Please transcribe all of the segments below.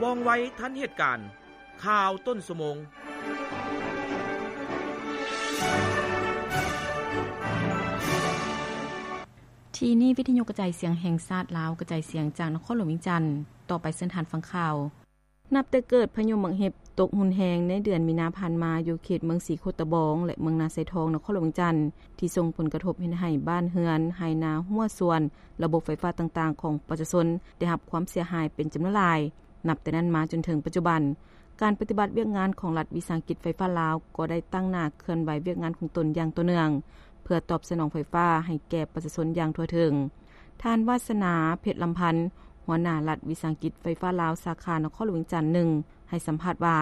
ວ່ອງໄວທັນເຫດການ. ຂ່າວຕົ້ນຊົ່ວໂມງ. ທີ່ນີ້ວິທະຍຸກະຈາຍສຽງແຫ່ງຊາດລາວ ກະຈາຍສຽງຈາກນະຄອນຫຼວງວຽງຈັນ. ຕໍ່ໄປເຊີນທ່ານຟັງຂ່າວ. ນັບແຕ່ເກີດພາຍຸໝາກເຫັບຕົກຮຸນແຮງໃນເດືອນມີນາຜ່ານມາ ຢູ່ເຂດເມືອງສີໂຄດຕະບອງ ແລະ ເມືອງນາຊາຍທອງ ນະຄອນຫຼວງວຽງຈັນ ທີ່ສົ່ງຜົນກະທົບເຮັດໃຫ້ບ້ານເຮືອນ, ໄຮ່ນາ, ຮົ້ວສວນ, ລະບົບໄຟຟ້າຕ່າງໆຂອງປະຊາຊົນໄດ້ຮັບຄວາມເສຍຫາຍເປັນຈຳນວນຫຼາຍ. ນັບແຕ່ນັ້ນມາຈົນເຖິງປັດຈຸບັນ, ການປະຕິບັດວຽກງານຂອງລັດວິສາຫະກິດໄຟຟ້າລາວ ກໍໄດ້ຕັ້ງໜ້າເຄື່ອນໄຫວວຽກງານຂອງຕົນຢ່າງຕໍ່ເນື່ອງ ເພື່ອຕອບສະໜອງໄຟຟ້າໃຫ້ແກ່ປະຊາຊົນຢ່າງທົ່ວເຖິງ. ທ່ານ ວາສະໜາ ເພັດລຳພັນ ຫົວໜ້າລັດວິສາຫະກິດໄຟຟ້າລາວ ສາຂານະຄອນຫຼວງວຽງຈັນໜຶ່ງ ໃຫ້ສຳພາດວ່າ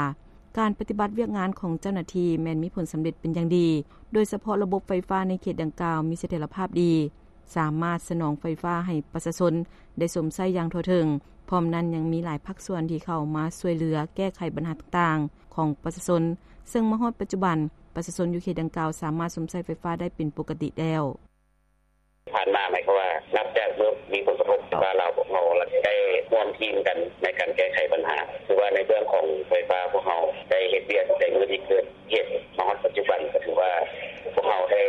ການປະຕິບັດວຽກງານຂອງເຈົ້າໜ້າທີ່ແມ່ນມີຜົນສຳເລັດເປັນຢ່າງດີ, ໂດຍສະເພາະລະບົບໄຟຟ້າໃນເຂດດັ່ງກ່າວມີສະຖຽນລະພາບດີ, ສາມາດສະໜອງໄຟຟ້າໃຫ້ປະຊາຊົນໄດ້ຊົມໃຊ້ຢ່າງທົ່ວເຖິງ. ພ້ອມນັ້ນຍັງມີຫຼາຍພາກສ່ວນທີ່ເຂົ້າມາຊ່ວຍເຫຼືອແກ້ໄຂບັນຫາຕ່າງໆຂອງປະຊາຊົນ, ເຊິ່ງມາຮອດປັດຈຸບັນ ປະຊາຊົນຢູ່ເຂດດັ່ງກ່າວສາມາດຊົມໃຊ້ໄຟຟ້າໄດ້ເປັນປົກກະຕິແລ້ວ. ຜ່ານມາ ໝາຍຄວາມວ່າ ນັບຈາກເມື່ອມີຜົນກະທົບ ວ່າລາວພວກເຮົາໄດ້ຮ່ວມທີມກັນໃນການແກ້ໄຂບັນຫາ. ຄືວ່າໃນເລື່ອງຂອງໄຟຟ້າ ພວກເຮົາໄດ້ເຮັດວຽກແຕ່ມື້ທີ່ເກີດເຫດມາຮອດປັດຈຸບັນ ກໍຖືວ່າພວກເຮົາໄດ້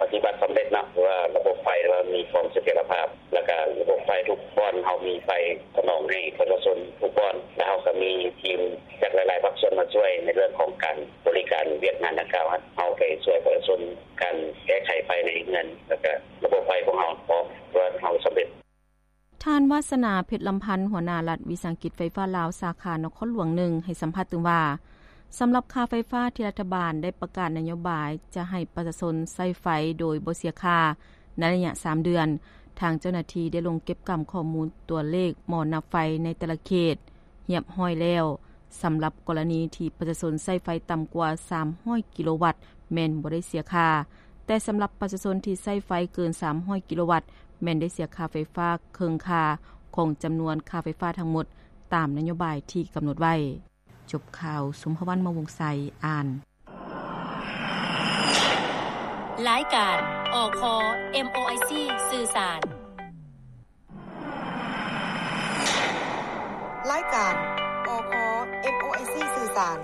ປະຕິບັດສຳເລັດເນາະ, ຄືວ່າລະບົບໄຟວ່າມີຄວາມສະຖຽນລະພາບ ແລ້ວກະລະບົບໄຟທຸກບ່ອນ ເຮົາມີໄຟສະໜອງໃຫ້ປະຊາຊົນທຸກບ່ອນ ແລະ ເຮົາກໍມີທີມຈາກຫຼາຍໆພາກສ່ວນມາຊ່ວຍໃນເລື່ອງຂອງການບໍລິການວຽກງານດັ່ງກ່າວ. ເຮົາໄປຊ່ວຍປະຊາຊົນ ການແກ້ໄຂໄຟໃນເຮືອນ ແລ້ວກະລະບົບໄຟພວກເຮົາພ້ອມ ຖືວ່າເຮົາສຳເລັດ. ທ່ານ ວາສະໜາ ເພັດລຳພັນ ຫົວໜ້າລັດວິສາຫະກິດໄຟຟ້າລາວ ສາຂານະຄອນຫຼວງໜຶ່ງ ໃຫ້ສຳພາດຕື່ມວ່າ ສຳລັບຄ່າໄຟຟ້າທີ່ລັດຖະບານໄດ້ປະກາດນະໂຍບາຍຈະໃຫ້ປະຊາຊົນໃຊ້ໄຟໂດຍບໍ່ເສຍຄ່າໃນໄລຍະສາມເດືອນ, ທາງເຈົ້າໜ້າທີ່ໄດ້ລົງເກັບກຳຂໍ້ມູນຕົວເລກໝໍນັບໄຟໃນແຕ່ລະເຂດຮຽບຮ້ອຍແລ້ວ. ສຳລັບກໍລະນີທີ່ປະຊາຊົນໃຊ້ໄຟຕ່ຳກວ່າສາມຮ້ອຍກິໂລວັດ ແມ່ນບໍ່ໄດ້ເສຍຄ່າ, ແຕ່ສຳລັບປະຊາຊົນທີ່ໃຊ້ໄຟເກີນສາມຮ້ອຍກິໂລວັດ ແມ່ນໄດ້ເສຍຄ່າໄຟຟ້າເຄິ່ງຄ່າຂອງຈຳນວນຄ່າໄຟຟ້າທັງໝົດ ຕາມນະໂຍບາຍທີ່ກຳນົດໄວ້. ຈົບຂ່າວ, ສົມພະວັນ ມະວົງໄຊ ອ່ານ. ລາຍການ ອຄ ເອັມໂອໄອຊີ ສື່ສານ. ລາຍການ ອຄ ເອັມໂອໄອຊີ ສື່ສານ.